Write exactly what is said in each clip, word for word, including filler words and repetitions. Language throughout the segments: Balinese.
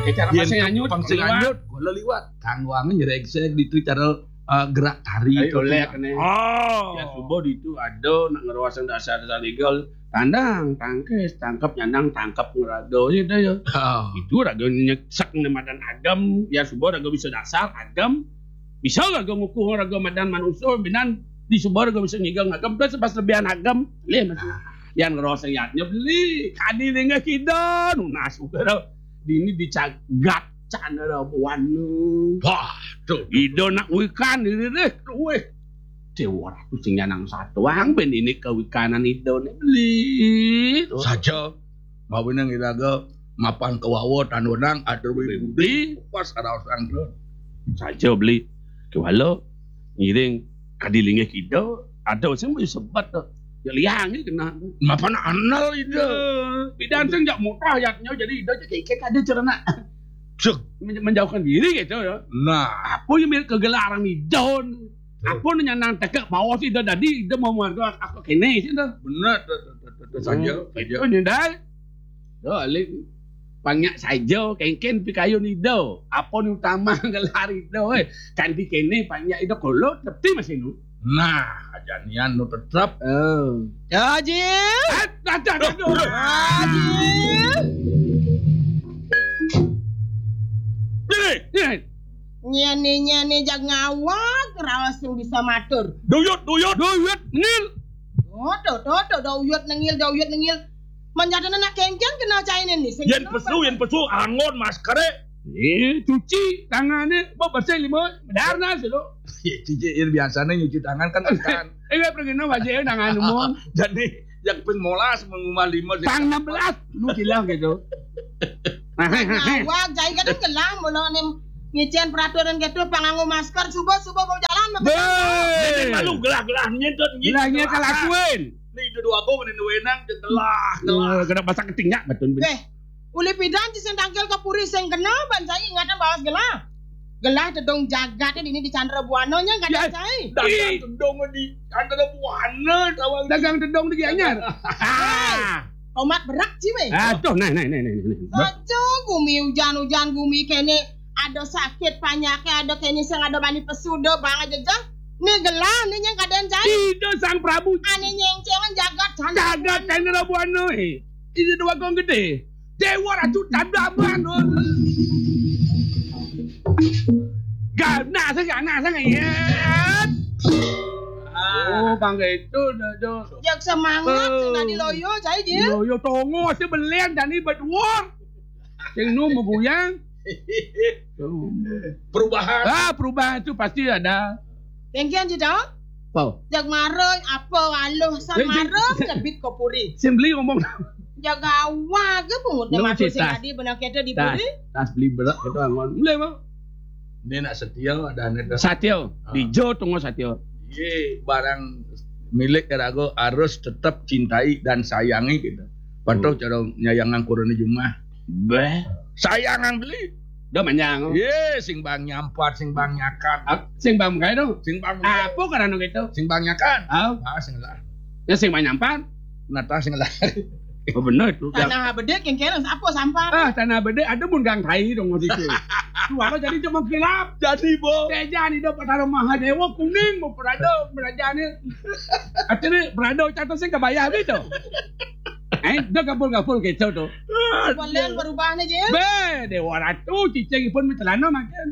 Cara pang sing anyut, pang sing anyut, kula liwat. Kang Wangi nyrengsek ditu cara, eh, gerak tari. Ayo, itu oleh kene. Oh. Ya, subuh ditu ada nak ngeroasang dasar-dasar legal. Tandang, tangkis, tangkep, nyandang, tangkep, ngerado, gitu ya. Oh. Itu raga nyesek ne madan agem, ya subuh raga bisa dasar, agem. Bisa raga ngukuh raga madan manusia, binan di subuh raga bisa ngigang agem, terus pas lebihan agem, lih, Mas. Yan ngerasa yatnya beli, kadi linggih kida, nunas uga dah. Dini dicagat candra buana. Waduh. Ida nak wikan diri deh, weh. Dewa Ratu sing nyanang satuang ben ini kewikanan Ida ne beli. Saja, mawinan iraga mapan kawawa tanurang atur wibudi, pas raos angkut. Saja beli. Kewala, ngiring kadi linggih kida, ada sing wis sebat to. Ya liang iki kena. Mapan anal Ida. Ya, pidan sing jak mutah yatnya, jadi Ida cek kekek ada cerna. Cek. Men-, menjauhkan diri gitu ya. Nah. Apa yang mir kegelaran Ida? Apa nu nyanang tegak bawa sih Ida tadi, Ida mau marga aku kene sih Ida. Bener, tuh, tuh, tuh, tuh, tuh, saja, hmm, saja. Itu nyendal. Yo, alik. Panyak saja, kengken pikayun Ida. Apa nu utama gelar Ida, eh. Kan di kene panyak Ida kolot, tapi masih nu. Nah, janian nu tetep. Oh. Haji. Aduh, aduh, aduh. Haji. Ini, ini. Nyene, nyene, jag ngawag, raos sing bisa matur. Duyut, duyut. Duyut, ngil. Tuh, tuh, tuh, tuh, duyut nengil, duyut nengil. Menjadi anak kengkeng kenal caine nih. Sing yen kenal pesu, apa? Yen pesu, angon maskere. Eh, cuci tangane, mbok bersih lima, bedarna sih lo. Ya, cuci, yen biasanya nyuci tangan kan tekan. Eh, nggak pergi no, wajahnya tangan umum. Jadi, yang ping molas mengumah lima sih. Tang enam belas, lu bilang gitu. Ngawag, cai kan gelang, mula nih nyician peraturan gitu, panganggo masker, subuh-subuh mau jalan, mau Be. Jadi malu gelah-gelah nyentut, nyentut. Gelahnya kelakuin. Nih, itu dua gong, ini wenang, gelah, gelah. Wah, kena pasang ketingak, betul, betul. Weh, uli pidan ci sing tangkil ke puri sing kena, ban saya ingatan bawas gelah. Gelah tedong jagat ini di Chandra Buana nya, nggak ada, ih, cai. Dagang tedong di Chandra Buana, tawang. Dagang tedong di Gianyar. Hei, tomat berak, ci, weh. Ah, tuh, nah, nah, nah, nah, nah. Saja gumi hujan-hujan, gumi kene ada sakit panyakit, ada kene sing ada bani pesu, do bang aja, jah. Ni gelah, ni nyang kadang cai. Ida Sang Prabu. Ane nyengcengan jagat Chandra. Jagat Chandra Buana, eh. Ida dua gong gede. Dewa Ratu Chandra Buana. Gana sing, gana sing, ya. Oh, bangga itu, do, do. Jak semangat, eh, sing tadi loyo, cai, Jil. Loyo tongo, sing belen, tadi berdua. Sing nu meguyang. Perubahan. Ah, perubahan itu pasti ada. Kengkian, Jil, dong? Apa? Jak marung, apa, aluh, sang marung, nyebit ke puri. Sing beli ngomong. Jaga awak ke pungut. Lu masuk sing tadi benar kita di puri. Tas beli berak itu angon. Mulai, Bang. Ini nak setia ada nih. Satya, ah. Dijo tunggu Satya. Iya, barang milik raga harus tetap cintai dan sayangi gitu. Patuh cara nyayangan kurune jumah. Beh. Sayangan beli. Dah manjang. Iya, sing bang nyampat, sing bang nyakan. Ah, sing bang mengkai dong. Sing bang mengkai. Apa karena gitu? Sing bang nyakan. Ah. Ah, sing lah. Ya sing bang nyampat. Nata sing lah. Oh, bener itu. Tanah bede kengkena apa sampah? Ah, tanah bede ada mun gang tai dong waktu itu. Suara jadi cuma gelap. Jadi, Bo. Teja ni dapat taruh Mahadewa kuning mau berada, berada ni. Akhirnya berada catat sing kebayar gitu. Eh, dah kapul-kapul gitu tuh. Kalian berubah nih, Jil? Be, Dewa Ratu, cicing pun mencelana makin.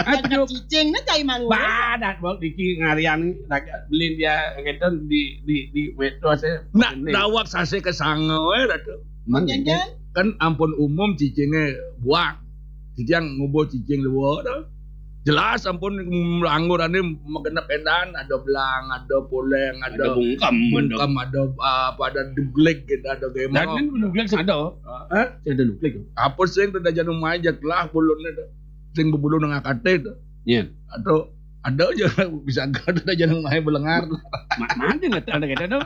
Aduh. Cicing ni cai mangu. Badat bok diki ngarian raga belin dia gitu di, di, di metro saya. Nak dawak sase ke sango, eh, Ratu. Makin kan? Kan ampun umum cicinge buang. Cicing ngubuh cicing luar dah. Jelas ampun anggurane magenep endan, ada belang, ada poleng, ada bungkem, ada apa, ada dugleg gitu, ada gemong. Dan kan dugleg sing ada. Hah? Sing ada dugleg. Apa sing tidak janu mai jak lah bulune dah. Sing bebulu nang akate dah. Iya. Atau ada aja bisa ada janu mai belengar. Mana nggak ada gitu tuh.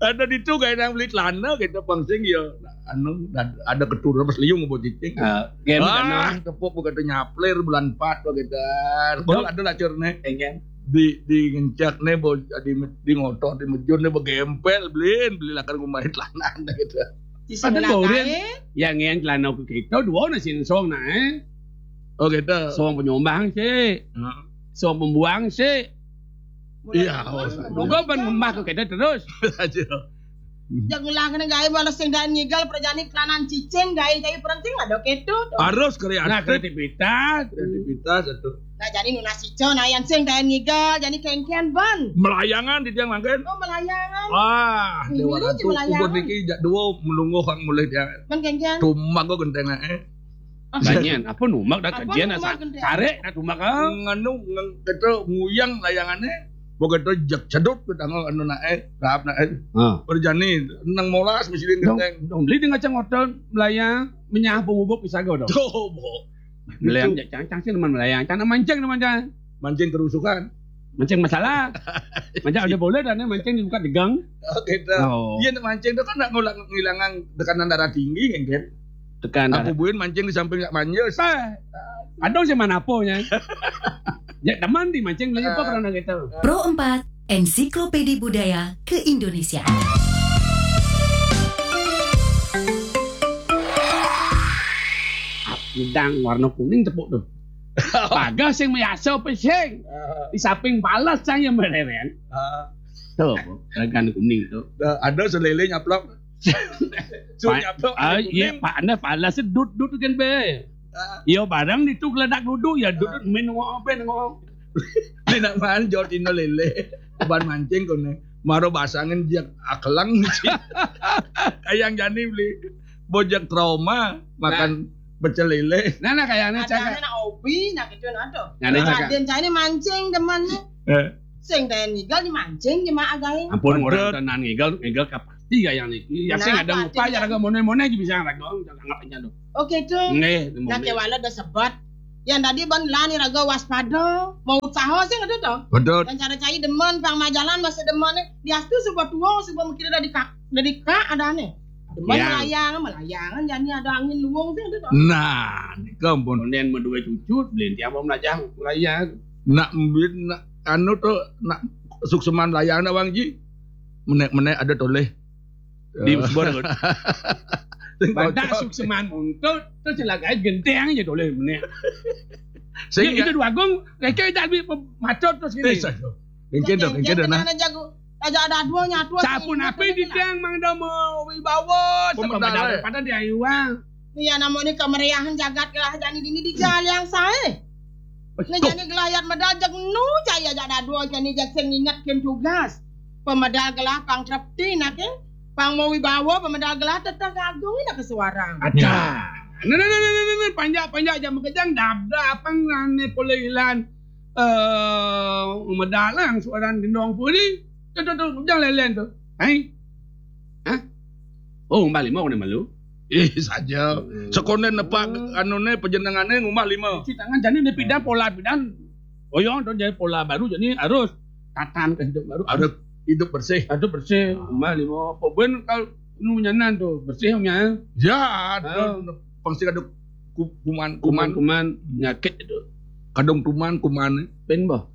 Ada di tu kayak nang beli celana gitu, bang sing ya. Anu, ada keturunan pas liung buat cicing. Ah, tepuk begitu nyaplir bulan empat begitu. Kalau ada lacur nih. Enggak. Di, di ngencak nih, di, di ngotor, di mejur nih, begempel, belin, beli lakan kumain celana gitu. Ada goren. Ya, ngen celana ke kita dua na sin song na, eh. Oh, gitu. Song penyumbang sih. Heeh. Song pembuang sih. Iya, oh, Moga ban ngembah ke kita terus. Aja. Jak ngelah kena gaé balas sing daan ngigal perjani kelanan cicing gaé cai perenting ada keto. Harus kreatif. Nah, kreativitas. Kreativitas itu. Nah, jadi nunas ijo nah yan sing daan ngigal jadi kengkian ban. Melayangan di tiang mangkin. Oh, melayangan. Wah, ini dewa ratu. Melayangan. Ubud niki jak dua melungguh kang mulih tiang. Ban kengkian. Tumbang kok genteng eh. Banyen, apa numbang dah kajian asa. Tarik dah tumbang ah. Nganu ngeng keto nguyang layangannya. Begitu jak cedut ke tanggal anu naik, tahap naik. Perjani nang molas mesti genteng. Dong beli dengan cang hotel melayang menyah bubuk bisa go dong. Coba. Melayang jak cang cang sih teman melayang, cang mancing teman cang. Mancing kerusuhan. Mancing masalah. Mancing ada boleh dan mancing dibuka degang. Oh, gitu. Oh. Iya, nak mancing itu kan nak ngulak ngilangan tekanan darah tinggi kan, kan? Tekan darah. Aku buin mancing di samping nak manjus. Eh, aduh sih mana aponya. Ya teman di mancing lagi apa karena gitu. Pro empat, Ensiklopedi Budaya Keindonesiaan. Udang warna kuning tepuk tuh. Paga sing mayasa apa sing? Di samping balas saya mereren. Tuh, ragan kuning tuh. Ada selele nyaplok. Su nyaplok. Ah, iya, Pak, anda balas dut dut kan be. Iya, barang itu geledak duduk ya dut main ngomong apa ngomong. Ini nak man jawab Tino lele. Ban mancing kone. Maro basangin jak akelang. Kayang jani beli bojak trauma makan pecel lele. Nah, nah kayaknya cak. Ada nak obi nak itu nado. Nyane cak. Raden cai ini mancing demannya. Eh. Sing daya ngigal dimancing di mak again. Ampun orang tenan ngigal ngigal kapasti kayang niki. Ya sing ada upaya raga mone-mone aja bisa raga anggap aja lo. Oke tuh. Nggih, nah kewala udah sebat. Yang tadi ban lani raga waspada, mau usaha sih nggak tuh. Betul. Dan cara cai demen pang majalan masih demen nih. Diastu sebuah tuang sebuah mikir dari kak dari kak ada nih. Demen melayang, melayangan jadi ada angin luwung sih nggak tuh. Nah, ini kampun. Kemudian mau dua cucu, beli tiang mau melayang, melayang. Nak mbit nak anu tuh nak sukseman layang nak Wang Ji. Menek-menek ada toleh. Di usbon. Badak sukseman muntut terus celaka genteng aja toleh menek. Sing itu dua gong, kayak tak lebih macet terus gitu. Bisa tuh. Engke dong, engke dong nah. Aja ada dua nyatu. Sampun apa di tiang mang damo wibawa sama pemedal pada di ayuang. Iya namanya kemeriahan jagat gelah jani dini di jalan yang sae. Nah jani gelah yat medal jek nu cai aja ada dua jani jek sing inget kin tugas. Pemedal gelah pang trepti nak pang mau wibawa pemedal gelah tetang kagung nak kesuarang. Ada. Nah, nah, nah, nah, nah, nah, panjak panjak jam kejang dabda apa ngane pole ilan eh medal lang suaran gendong puli. Tuh tuh tuh jang lelen tuh. Hai. Hah? Oh, mbak lima kone malu. Ih, saja. Sekonden nepak anune pejenengane ngumah lima. Cuci tangan jani ne pidan pola pidan. Oyong tuh jadi pola baru jadi harus tatan ke hidup baru harus hidup bersih. Hidup bersih. Mbak lima apa ben kalau nu nyanan tuh bersih nya. Ya, pasti ada kuman kuman kuman penyakit itu. Kadung kuman kuman. Pen bah.